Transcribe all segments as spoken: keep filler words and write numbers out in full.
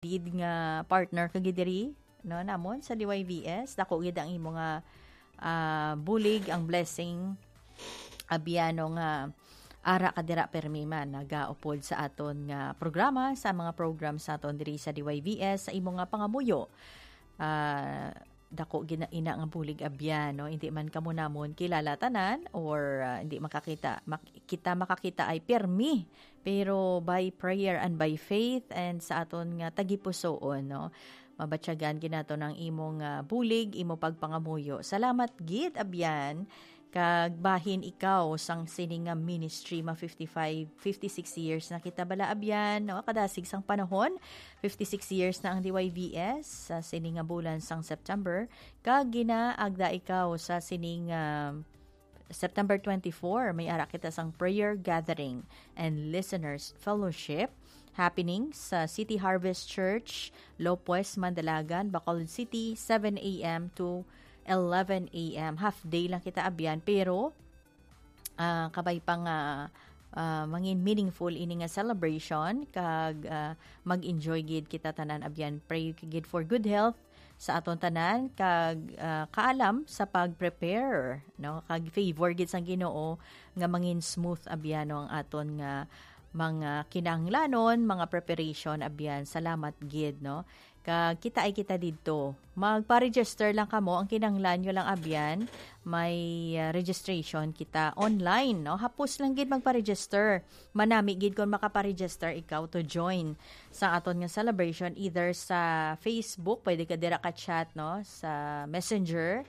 Did nga partner ka gid diri, no, namon sa D Y V S, dako gid ang imo nga, ah, bulig, ang blessing, abyan, no, nga ara ka dira permi man nagaupod sa aton nga programa, sa mga program sa aton diri sa D Y V S, sa imo nga pangamuyo. Ah, dako gid na ina nga bulig, abyan, no? Hindi man kamo namon kilala tanan or, ah, hindi makakita, mak-, kita makakita ay permi, pero by prayer and by faith and sa aton nga tagipusoon, no? Mabatyagan gid naton ang imong, ah, bulig, imo pagpangamuyo. Salamat gid, abyan, kag bahin ikaw sang sini nga ministry, ma fifty-five, fifty-six years na kita bala, abyan, no? Kadasig sang panahon, fifty-six years na ang D Y V S sa sini nga bulan sang September, kag ginaagda ikaw sa sini nga September twenty-four, may ara kita sang prayer gathering and listeners fellowship happening sa City Harvest Church, Lopez, Mandalagan, Bacolod City, seven a m to eleven a m. Half day lang kita, abyan, pero, ah, kabay pa nga, ah, mangin meaningful ini nga celebration, kag, ah, mag-enjoy gid kita tanan, abyan. Pray gid for good health sa aton tanan, kag, ah, kaalam sa pag-prepare, no? Kag favor gid sang Ginoo nga mangin smooth, abyan, no, ang aton nga mga kinahanglanon, mga preparation, abyan. Salamat gid, no? Kag kita ay kita didto. Magpa-register lang kamo. Ang kinahanglan nyo lang, abyan, may, ah, registration kita online, no? Hapos lang gid magpa-register. Manami gid kon makapa-register ikaw to join sa aton nga celebration, either sa Facebook, pwede ka dira ka-chat, no, sa Messenger,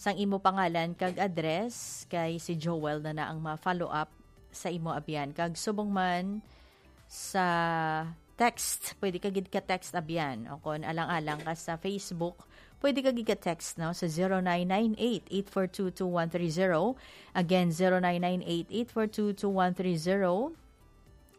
sang imo pangalan kag address, kay si Joel na na ang ma-follow up sa imo, abyan. Kag subong man sa text, pwede ka gid ka-text, abyan. O kon alang-alang ka sa Facebook, pwede ka gid ka-text, no, sa zero nine nine eight, eight four two, two one three zero. Again, zero nine nine eight, eight four two, two one three zero.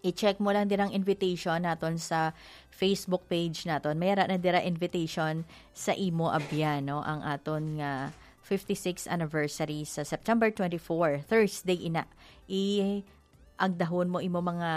I-check mo lang dirang invitation naton sa Facebook page naton. May ara na dira invitation sa imo, abyan, no, ang aton nga fifty-sixth anniversary sa September twenty-four, Thursday ina. I-agdahon mo imo mga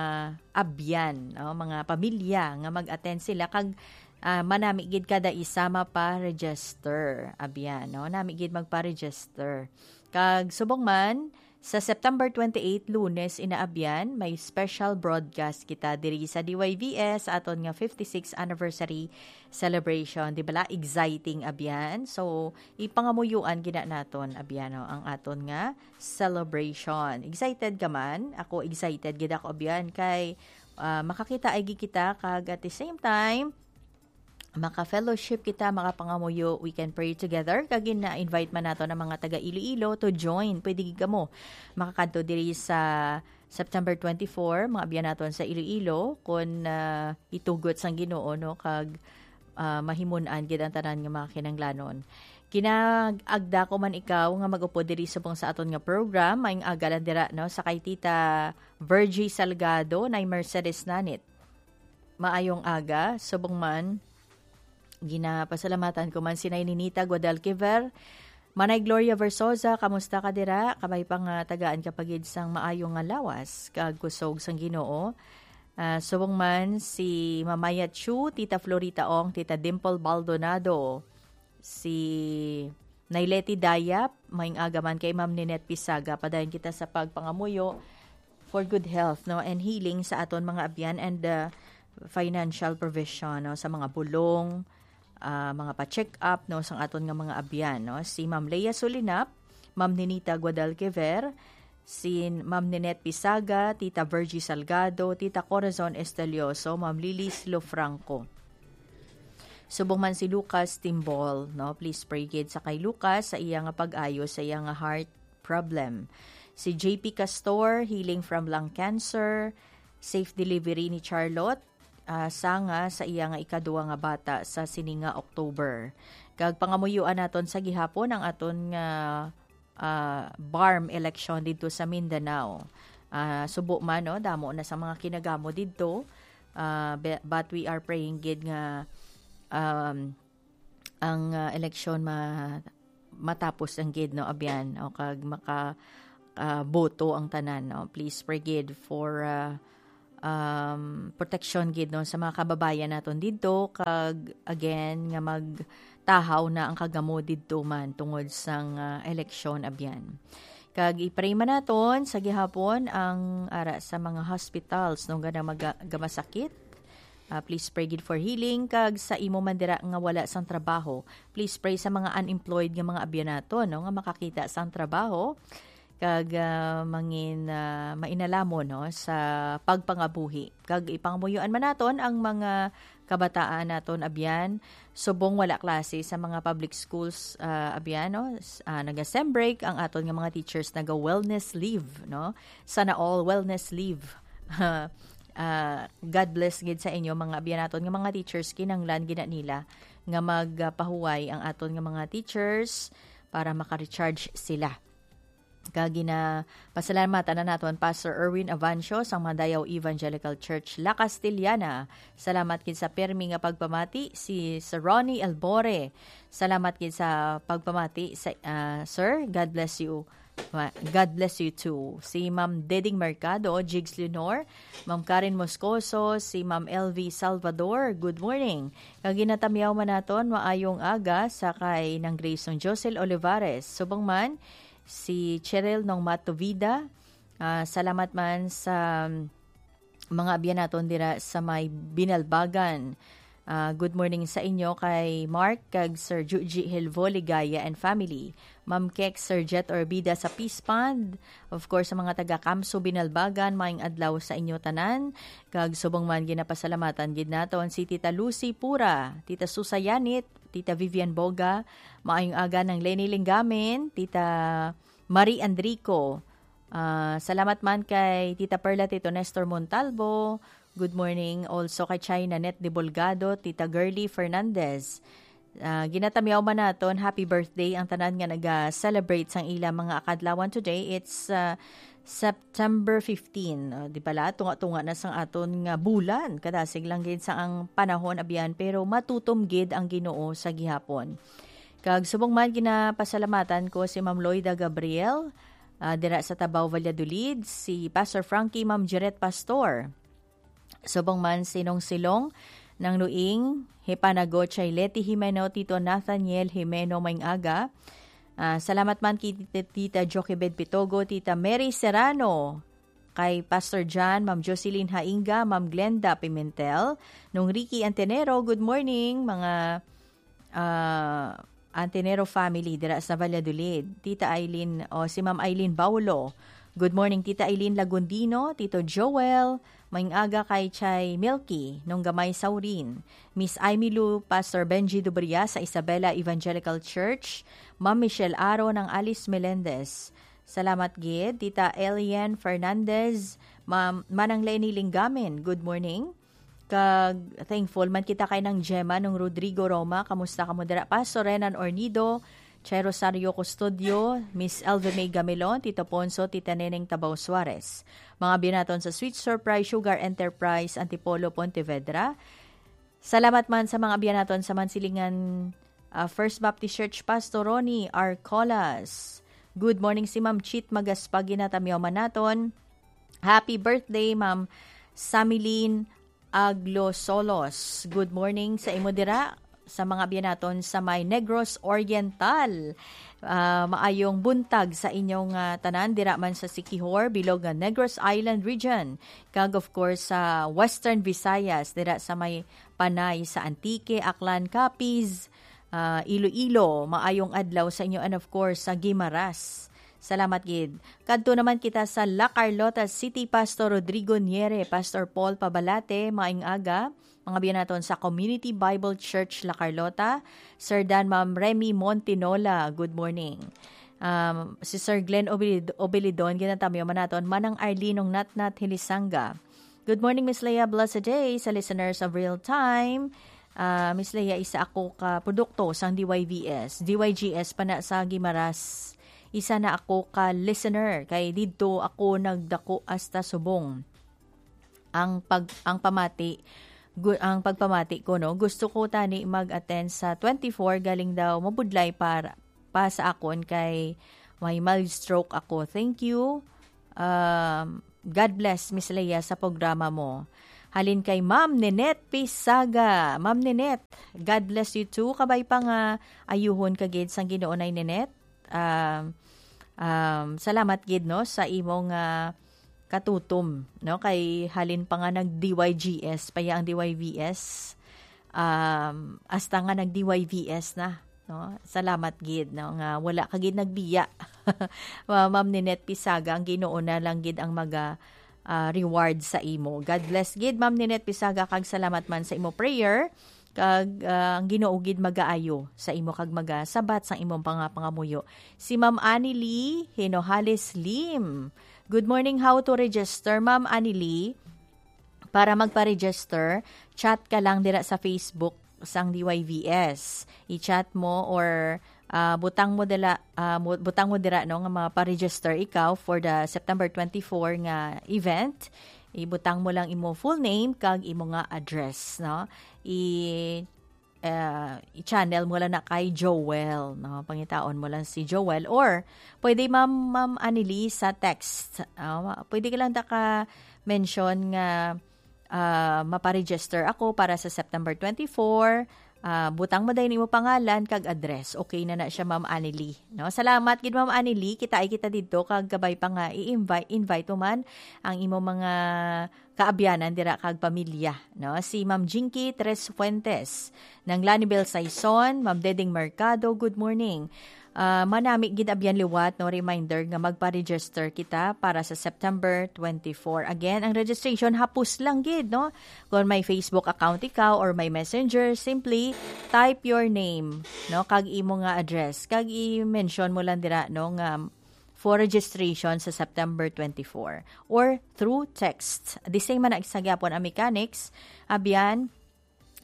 abyan, no, mga pamilya nga mag-attend sila, kag, ah, manami gid kada isa mapa-register, abyan, no? Nami gid magpa-register. Kag subong man, sa September twenty-eight, Lunes, ina, abyan, may special broadcast kita diri sa D Y V S sa aton nga fifty-sixth anniversary celebration. Di bala, exciting, abyan? So, ipangamuyuan gina naton, abyan, no, ang aton nga celebration. Excited ka man? Ako, excited gid ako, abyan, kay, ah, makakita ay gid kita, kag at the same time, maka-fellowship kita, makapangamuyo, we can pray together. Kag gina-invite man nato ang mga taga Iloilo to join. Pwede gid kamo makakadto diri sa September twenty-four, mga abyan naton sa Iloilo, kun, ah, itugot sang Ginoo, no, kag, ah, mahimon-an gid ang tanan nga mga kinahanglanon. Kinaagda ko man ikaw nga mag-upod diri subong sa aton nga program, maayong aga lang dira, no, sa kay Tita Virgie Salgado, nay Mercedes Nanit. Maayong aga, subong man. Ginapasalamatan ko man si Nay Ninita Guadalquiver. Manay Gloria Versosa, kamusta ka dira? Kabay pa nga tagaan ka pa gid sang maayo nga lawas kag kusog sang Ginoo. Ah, subong man si Mamaya Chu, Tita Florita Ong, Tita Dimple Baldonado, si Nay Leti Dayap, maayong aga man kay Ma'am Ninette Pisaga. Padayon kita sa pagpangamuyo for good health, no, and healing sa aton mga abyan and, uh, financial provision, no, sa mga bulong, ah, mga pa-check up, no, sang aton nga mga abyan, no. Si Ma'am Lea Sulinap, Ma'am Ninita Guadalquiver, si Ma'am Ninette Pisaga, Tita Virgie Salgado, Tita Corazon Estelioso, Ma'am Lilis Lofranco. Subong man si Lucas Timbol, no? Please pray gid sa kay Lucas sa iya nga pag-ayo sa iya nga heart problem. Si J P Castor, healing from lung cancer, safe delivery ni Charlotte, ah, sanga sa iya nga ikadua nga bata sa sini nga October. Kag pangamuyuan naton sa gihapon ang aton nga, ah, BARMM election didto sa Mindanao. Ah, subo man, no, damo na sa mga kinagamo didto. Ah, be-, but we are praying gid nga, um, ang, ah, eleksyon ma-, matapos ang gid, no, abyan, o kag maka, ah, boto ang tanan, no. Please pray gid for, ah, um, proteksyon gid, no, sa mga kababayan naton didto, kag again nga magtahaw na ang kagamo didto man tungod sang, ah, eleksyon abyan. Kag i-pray man naton sa gihapon ang ara sa mga hospitals, no, nga namaga-, gamasakit. Ah, please pray gid for healing, kag sa imo man dira nga wala sang trabaho, please pray sa mga unemployed nga mga abyan naton, no, nga makakita sang trabaho kag, ah, mangin, ah, mainalamon, no, sa pagpangabuhi. Kag ipangamuyoan man naton ang mga kabataan naton abyan, subong wala klase sa mga public schools, ah, abyan, no? S-, ah, naga-sem break ang aton nga mga teachers, naga-wellness leave, no? Sana all wellness leave. Ah, God bless gid sa inyo, mga abyan naton nga mga teachers, kinahanglan gid na nila nga magpahuway ang aton nga mga teachers para maka-recharge sila. Kag ginapasalamatan na naton Pastor Erwin Avancio sang Mandayaw Evangelical Church, La Castellana. Salamat gid sa pirmi nga pagpamati. Si Sir Ronnie Elbore, salamat gid sa pagpamati sa, ah, sir. God bless you. Ma-, God bless you too. Si Ma'am Deding Mercado, Jigs Leonor, Ma'am Karen Moscoso, si Ma'am L V Salvador, good morning. Kag ginatamyaw man naton, maayong aga sa kay Nang Grayson Josel Olivares. Subong man, si Cheryl Nong Matovida. Ah, salamat man sa, um, mga abyan naton dira sa may Binalbagan. Ah, good morning sa inyo kay Mark kag Sir Juji Hilvo Ligaya and family. Ma'am Kek, Sir Jet Orbida sa Peace Pond. Of course, sa mga taga Kamso Binalbagan, maayong adlaw sa inyo tanan. Kag subong man ginapasalamatan gid naton si Tita Lucy Pura, Tita Susa Yanit, Tita Vivian Boga, maayong aga Nang Leni Linggamin, Tita Marie Andrico. Ah, salamat man kay Tita Perla, Tito Nestor Montalvo. Good morning also kay China Net de Bolgado, Tita Girly Fernandez. Ah, ginatamyaw man naton, happy birthday ang tanan nga naga-celebrate sang ila mga akadlawan today. It's, ah, September fifteen. Ah, di bala, tunga-tunga na sang aton nga bulan. Kadasig lang gid sa ang panahon, abyan, pero matutom gid ang Ginoo sa gihapon. Kag subong man, ginapasalamatan ko si Ma'am Loida Gabriel, ah, dira sa Tabaw, Valladolid, si Pastor Frankie, Ma'am Jeret Pastor. Subong man si Nong Silong, Nang Nuing, Hipanago, Chay Leti Jimeno, Tito Nathaniel Jimeno, maayong aga. Ah, salamat man kay Tita, Tita Joquebed Pitogo, Tita Mary Serrano, kay Pastor John, Ma'am Jocelyn Hainga, Ma'am Glenda Pimentel, Nong Ricky Antenero, good morning, mga, ah, Antenero family dira sa Valladolid. Tita Eileen, o si Ma'am Eileen Baulo. Good morning, Tita Eileen Lagundino, Tito Joel, maayong aga kay Chay Milky, Nong Gamay Saurin, Miss Aimee Lou, Pastor Benji Dubria sa Isabela Evangelical Church, Ma'am Michelle Aro, Nang Alice Melendez. Salamat gid, Tita Elian Fernandez, Ma'am, Manang Leni Linggamin, good morning. Kag thankful man kita kay Nang Gemma, Nong Rodrigo Roma, kamusta kamo dira? Pastor Renan Ornido, Chay Rosario Custodio, Miss Elvie May Gamilon, Tito Ponso, Tita Neneng Tabaw Suarez. Mga abyan naton sa Sweet Surprise Sugar Enterprise, Antipolo, Pontevedra. Salamat man sa mga abyan naton sa Mansilingan, ah, First Baptist Church, Pastor Ronnie Arcolas. Good morning, si Ma'am Chit Magaspag, ginatamyaw man naton. Happy birthday, Ma'am Samilin Aglo Solos. Good morning sa imo dira. Sa mga abyan naton sa may Negros Oriental, ah, maayong buntag sa inyong, ah, tanan dira man sa Siquijor, bilog nga Negros Island Region, kag of course sa Western Visayas, dira sa may Panay, sa Antique, Aklan, Capiz, ah, Iloilo. Maayong adlaw sa inyo, and of course sa Guimaras. Salamat gid. Kadto naman kita sa La Carlota City, Pastor Rodrigo Niere, Pastor Paul Pabalate, maayong aga. Mga abyan naton sa Community Bible Church La Carlota, Sir Dan, Ma'am Remy Montinola, good morning. Um, si Sir Glenn Obilid-, Obilidon, ginatamyaw man naton, Manang Arlene Nong Natnat Hilisanga. Good morning, Miss Leah. Blessed day sa listeners of Real Time. Ah, Miss Leah, isa ako ka produkto sang D Y V S, D Y G S pa na sa Guimaras. Isa na ako ka listener, kay didto ako nagdako hasta subong. Ang pag-, ang pamati, gu-, ang pagpamati ko, no, gusto ko tani mag-attend sa twenty-four, galing daw mabudlay para, pa sa akon kay may mild stroke ako. Thank you. Um, God bless, Miss Leia, sa programa mo. Halin kay Ma'am Ninette Pisaga. Ma'am Ninette, God bless you too. Kabay pa nga ayuhon ka gid sang Ginoo, Nay Ninette. Um, um, salamat gid, no, sa imong, ah, katutom, no, kay halin pa nga nag-D Y G S pa ya ang D Y V S. Um, hasta nga nag-D Y V S na, no? Salamat gid, no, nga wala ka gid nagbiya. Ma-, Ma'am Ninette Pisaga, ang Ginoo na lang gid ang maga, ah, reward sa imo. God bless gid, Ma'am Ninette Pisaga, kag salamat man sa imo prayer. Kag, ah, ang Ginoo gid magaayo sa imo kag magasabat sang imong panga-, pangamuyo. Si Ma'am Annie Lee Hinohales Lim. Good morning, how to register, Ma'am Annie Lee? Para magpa-register, chat ka lang dira sa Facebook sang D Y V S. I-chat mo or, ah, butang mo dala, ah, mo-, butang mo dira, no, nga mapa-register ikaw for the September twenty-four nga event. Ibutang mo lang imo full name kag imo nga address, no? I, ah, i-channel mo lang na kay Joel, no? Pangitaon mo lang si Joel. Or, pwede, Ma'am, Ma'am Anili, sa text. Ah, pwede ka lang ta ka mention nga, ah, mapa-register ako para sa September twenty-four. Ah, butang mo dayon imo pangalan kag address. Okay na na siya, Ma'am Anili, no? Salamat gid, Ma'am Anili. Kita ay kita didto kag kabay pa nga i-invite, invite mo man ang imo mga kaabyanan dira kag pamilya, no? Si Ma'am Jinky Tres Fuentes, Nang Lanibel Saison, Ma'am Deding Mercado, good morning. Ah, manami gid abyan liwat, no, reminder nga magpa-register kita para sa September twenty-four. Again, ang registration hapos lang gid, no? Kung may Facebook account ikaw or may Messenger, simply type your name, no, kag imo nga address, kag i-mention mo lang dira, no, nga for registration sa September twenty-four or through text. The same man ang isa gyapon ang mechanics. Abyan,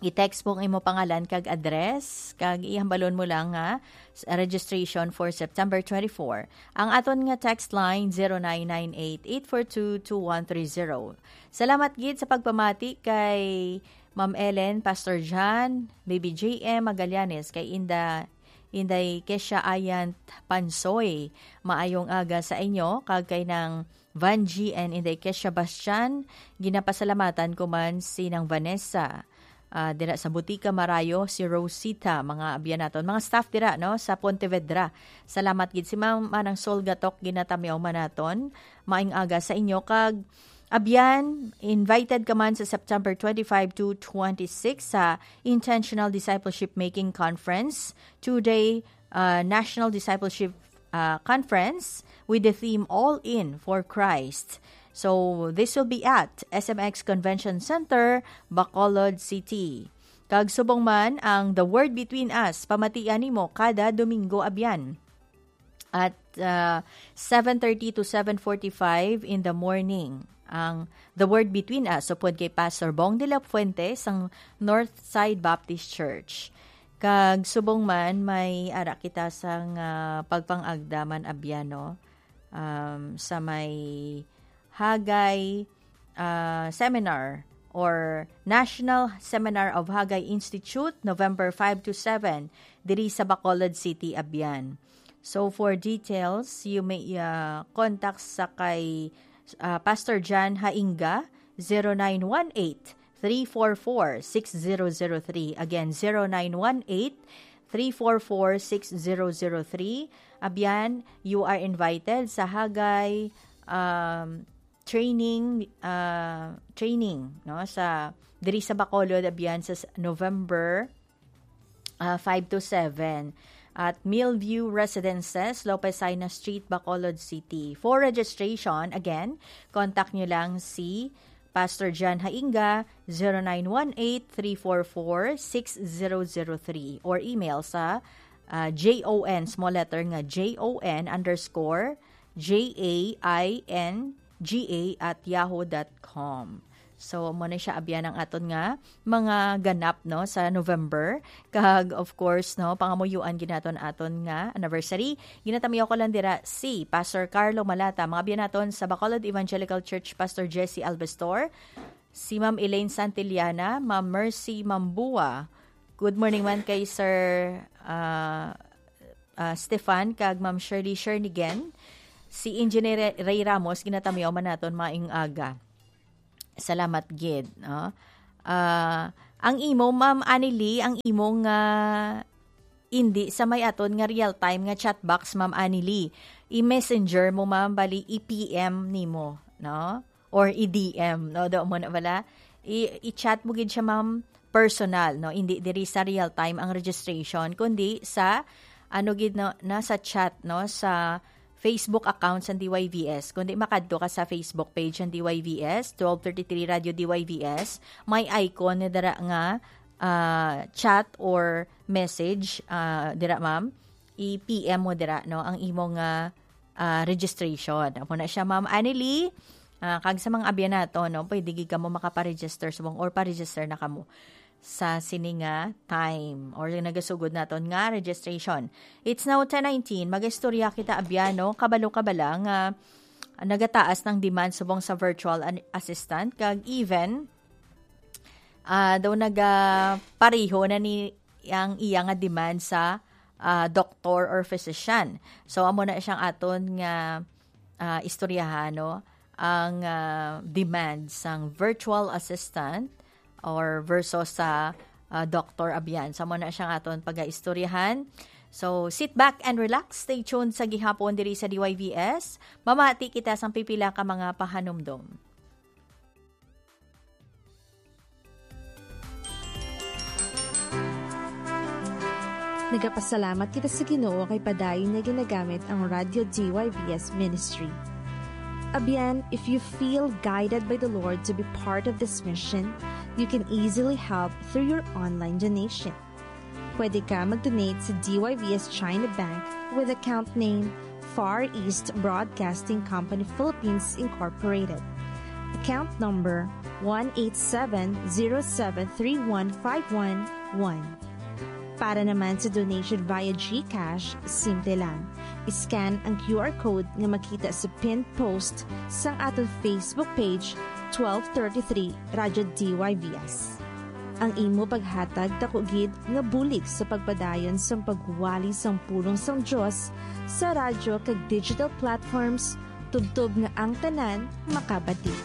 i-text mo ang imo pangalan kag address, kag ihambalon mo lang nga s-, registration for September twenty-four. Ang aton nga text line, zero nine nine eight, eight four two, two one three zero. Salamat gid sa pagpamati kay Ma'am Ellen, Pastor John, Baby J M Magallanes, kay Inda, Inday Kesha Ayant Pansoy. Maayong aga sa inyo, kag kay Nang Vangie and Inday Kesha Bastian, ginapasalamatan ko man si Nang Vanessa. Ah, dira sa Butika Marayo, si Rosita, mga abyan naton, mga staff dira, no, sa Pontevedra. Salamat gid si Ma'am Manang Sol Gatok, ginatamyaw man naton. Maayong aga sa inyo, kag abyan, invited ka man sa September twenty-five to twenty-six sa Intentional Discipleship Making Conference, two-day, uh, National Discipleship, uh, Conference with the theme All In for Christ. So, this will be at S M X Convention Center, Bacolod City. Kag subong man ang The Word Between Us, pamatian nimo kada Domingo abyan at, uh, seven thirty to seven forty-five in the morning. Ang The Word Between Us, upod kay Pastor Bong de la Fuente sang North Side Baptist Church. Kag subong man, may ara kita sang, ah, pagpang-agda man abyan, no? Um, sa may Hagay, ah, Seminar or National Seminar of Hagay Institute, November five to seven, diri sa Bacolod City, abyan. So, for details, you may, uh, contact sa kay, uh, Pastor John Hainga, zero nine one eight, three four four, six zero zero three. Again, zero nine one eight, three four four, six zero zero three. Abyan, you are invited sa Hagay, um, training, uh, training, no, sa, diri sa Bacolod, abyan, sa s-, November, uh, five to seven at Millview Residences, Lopez Saina Street, Bacolod City. For registration, again, contact nyo lang si Pastor John Hainga, zero nine one eight, three four four, six zero zero three, or email sa, uh, J O N, small letter nga J O N underscore J A I N G A at yahoo dot com. So, mo na siya abyan ang aton nga mga ganap, no, sa November. Kag, of course, no, pangamuyuan gid naton aton nga anniversary. Ginatamyaw ko lang dira si Pastor Carlo Malata, mga abyan naton sa Bacolod Evangelical Church, Pastor Jesse Albestor, si Ma'am Elaine Santillana, Ma'am Mercy Mambua. Good morning man kay Sir, ah, ah, Stefan kag Ma'am Shirley Shernigan. Si Engineer Ray Ramos, ginatamyaw man naton maayong aga. Salamat gid, no? Ah, ang imo, Ma'am Annie Lee, ang imo nga indi sa may aton nga real-time nga chat box, Ma'am Annie Lee. I-messenger mo, ma'am, bali i-P M nimo, no? Or i-D M, no? Do mo na bala. I-, i-chat mo gid siya, ma'am, personal, no? Hindi diri sa real-time ang registration, kundi sa, ano gid, no, na sa chat, no? Sa Facebook account sa D Y V S. Kundi makadto ka sa Facebook page ng D Y V S, twelve thirty-three Radyo D Y V S. May icon na dira nga, ah, chat or message, ah, dira, ma'am. I-P M mo dira, no, ang imong, ah, ah, registration. Amo na siya, Ma'am Annelie. Ah, kag sa mga abyan nato, no, pwede gid kamo makaparegister subong or paregister na kamo sa sini nga time or yung nagasugod naton nga registration. It's now ten nineteen. Mag-istorya kita, abyan, no? Kabalo-kabala nga nagataas ng demand subong sa virtual an-, assistant, kag even, ah, daw naga-, pareho na ni ang iya nga demand sa, ah, doktor or physician. So, amo na siyang aton nga, ah, istoryahan, no? Ang, ah, demand sang virtual assistant or versus sa, ah, doktor, abyan. So, amo na siyang aton pagaistoryahan. So, sit back and relax. Stay tuned sa gihapon diri sa D Y V S. Mamati kita sang pipila ka mga pahanumdom. Nagapasalamat kita sa Ginoo kay padayon niya ginagamit ang Radyo D Y V S Ministry. Abyan, if you feel guided by the Lord to be part of this mission, you can easily help through your online donation. Pwede ka mag-donate sa D Y V S China Bank with account name Far East Broadcasting Company Philippines Incorporated. Account number one eight seven zero seven three one five one one. Para naman sa donation via GCash, simple lang. I-scan ang Q R code nga makita sa pinned post sang aton Facebook page, twelve thirty-three Radyo D Y V S. Ang imo paghatag daku gid nga bulig sa pagpadayon sang pagwali sang pulong sang Dios sa radyo kag digital platforms, tubtob nga ang tanan makabati.